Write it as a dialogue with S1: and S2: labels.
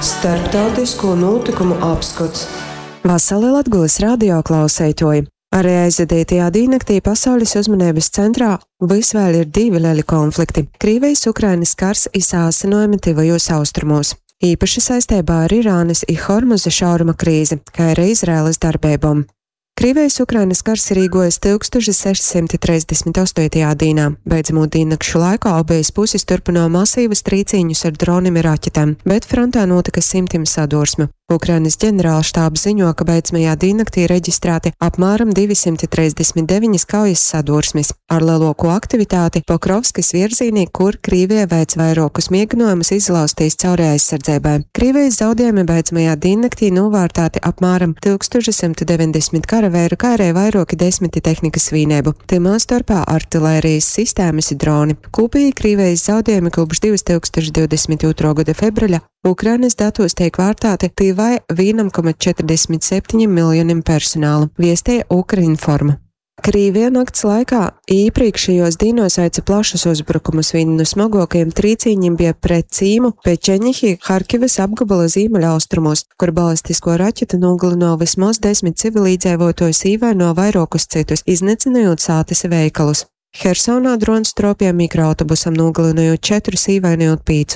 S1: Starptautisko nūtykumu apskots.
S2: Vasali Latgolys radio klauseituoji! Ari aizvadeitajā dīnnaktī pasaulis uzmaneibys centrā vys vēļ ir divi leli konflikti - Krīvejis-Ukrainys kars i saasynuojumi Tyvajūs Austrumūs. Īpaši saisteibā ar Irānys i Hormuza šauruma krīzi, kai ari Izraelys darbeibom. Krīvejis-Ukrainys kars ir īguojis 1638. dīnā. Beidzamū dīnnakšu laikā obejas pusis turpynuoja masīvus trīcīņus ar dronim i raķetem, bet frontē nūtyka symtim sadursmu. Ukrainys ģenerālštābs ziņo, ka beidzamajā dīnnaktī reģistrāti apmāram 239 kaujas sadursmis, ar leluokū aktivitāti Pokrovskys vierzīnī, kur Krīvija veic vairuokus mieginuojumus izlauztīs cauri aizsardzeibai. Krīvejis zaudiejumi beidzamajā dīnnaktī nūvārtāti apmāram 1190 karaveiru, kai arī vairuoki desmiti tehnikys vīneibu, tymā storpā artilērijas sistēmys i droni. Kūpīgi Krīvejis zaudiejumi kopš 2022. gada februļa Ukrainys datūs teik vārtāti tyvai 1,47 miljonim personāla, viesteja Ukrinform. Krīvija nakts laikā īprīkšejuos dīnuos veica plašus uzbrukumus. Vīni nu smoguokajiem trīcīņim bija pret cīmu Pečeņihi Harkivys apgobola zīmeļaustrumos, kur balistisko raķetu nūgalynuoja vysmoz 10 civilīdzeivuotuojus, īvainoja vairuokus cytus, iznycynojūt sātys i veikalus. Hersonā drons truopēja mikroautobusam, nūgalynojūt četrus, īvainojūt pīcus.